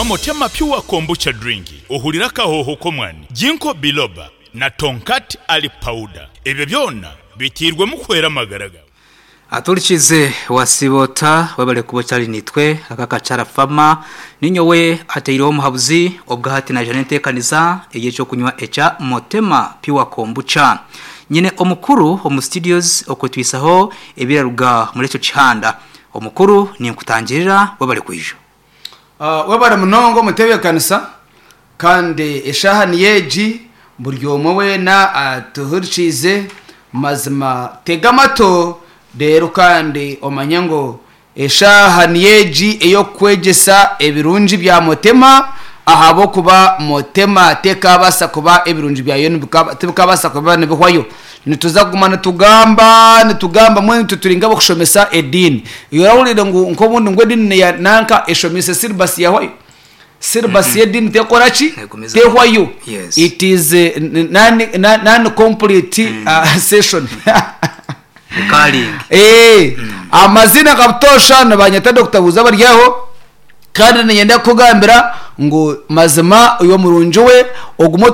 Nywa Motema Pure Kombucha Drink ohurire akahooho k'omwani, Ginkgo Biloba na Tongkat Ali Powder. Ebyo byona biteirwemu kuhwera amagara gaawe. Aturikize wasiiba ota webale kuba okyari naitwe aka akakyara farmer ninyowe ateireho omuhabuzi obwahati naija nentekaniza eyekyokunywa ekya Motema Pure Kombucha. Nyine omukuru omu studios okwetwisaho ebiraruga muri ekyo kihanda. Omukuru ninkutangirira webale kwija. Webare munonga omutebekanisa kandi eshaaha niyo egi buri omwe weena atuhurikiize mazima tega amatu reero kandi omanye ngu eshaaha niyo egi ey'okukwegyesa ebirungi bya Mutema ahabw'okuba Mutema tekabaasa kuba ebirungi byayo tibikabaasa kuba nibihwayo. Nituza kuguma nitugamba, nitugamba mbwenu itwe turi nk'abarikushomesa ediini. Iwe orahurire ngu nk'obundi ngu ediini neya nanka eshomeise syllabus yahwayo? Syllabus y'ediini tekora ki? Negumizamu. Tehwayo. Yes. It is non, non complete session. Recurring. Eh, amazina nka butoosha nibanyeta Dokita Buuza Baryaho kandi niinyenda kukugambira ngu mazima oyo murungi we ogume.